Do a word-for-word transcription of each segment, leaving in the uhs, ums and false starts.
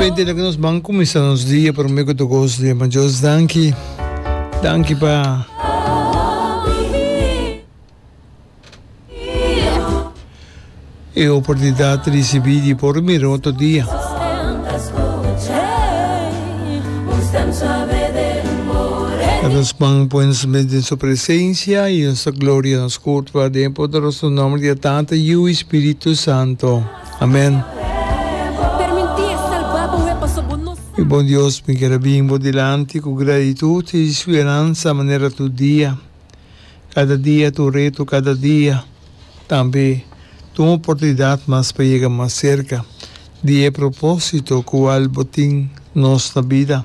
Naturalmente laga nos ban kuminsá nos dia promé ku tur kos di ma Dios danki. Danki pa e oportunidat risibí di por mira otro dia. Laga nos ban pone nos mes den su presensia i nos ta gloria nos kurpa den e poderoso nòmber di e Tata, Yu i Spiritu Santo. Amen. Mi bon Dios, mi kier a bin bo dilanti ku gratitut i speransa manera tur dia. Kada dia ta un reto, kada dia tambe ta un oportunidat mas pa yega mas serka di e propósito kual bo tin nos na bida.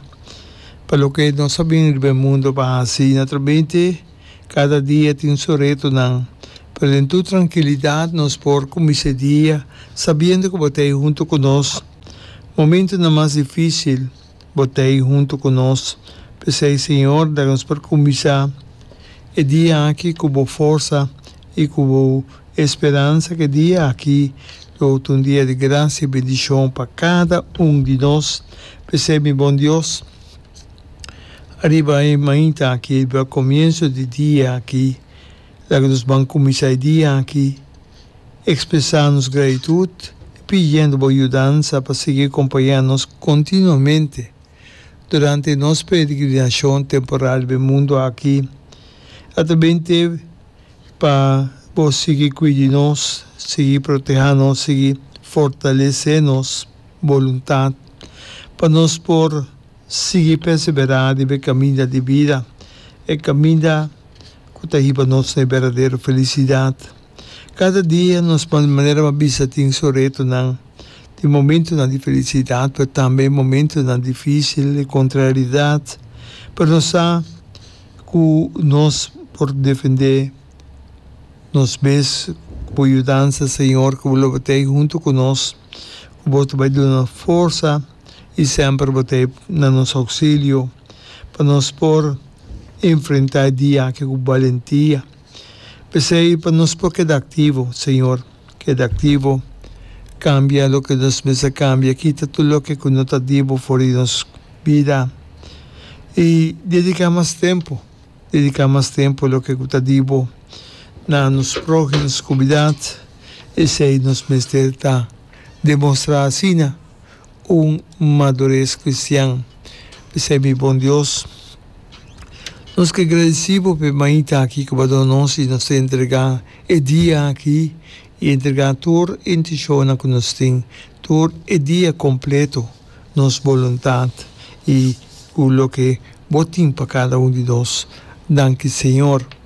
Pa loke nos a bin riba e mundu pa hasi, naturalmente kada dia tin su retonan, pero den tur trankilidat nos por kuminsá e dia sabiendo ku bo ta ei huntu ku nos. Momentunan mas difísil bo ta ei huntu ku nos. P'esei, Señor, laga nos por kuminsá e dia aki ku bo forsa i ku bo esperansa ku e dia aki lo ta un dia di grasia i bendishon pa kada un di nos. P'esei, mi bon Dios, ariba e mainta aki, riba komienso di dia aki, laga nos ban kuminsá e dia aki ekspresá nos gratitut i pidiendo bo yudansa pa sigui kompañá nos kontinuamente durante nos peregrinashon temporal riba e mundu aki. Atrabente pa bo sigui kuida di nos, sigui protehá nos, sigui fortalesé nos boluntat pa nos por sigui perseverá riba e kaminda di bida, e kaminda ku ta hiba nos na e berdadero felisidat. Kada dia nos manera pa bisa tin su retonan, tin momentonan di felisidat pero tambe momentonan difísil di kontraridat, pero nos sa ku nos por defendé nos mes ku bo yudansa Señor, ku bo lo bo ta ei huntu ku nos, ku bo ta bai duna nos forsa i semper bo ta ei na nos ousilio pa nos por enfrentá e dia aki ku balentia. P'esei pa nos por keda aktivo, Señor, keda aktivo, kambia loke nos mester kambia, kita tur loke ku no ta di bo for di nos bida i dediká mas tempu, dediká mas tempu loke ku ta di bo na nos próhimo, nos komunidat. Esei nos mester ta demostrá asina un madures kristian. P'esei mi bon Dios, nos ke gradisí bo p'e mainta aki ku bo a duna nos i nos ta entregá e dia aki i entregá tur intishonnan ku nos tin, tur e dia kompleto, nos boluntat i ku loke bo tin pa kada un di nos. Danki Señor.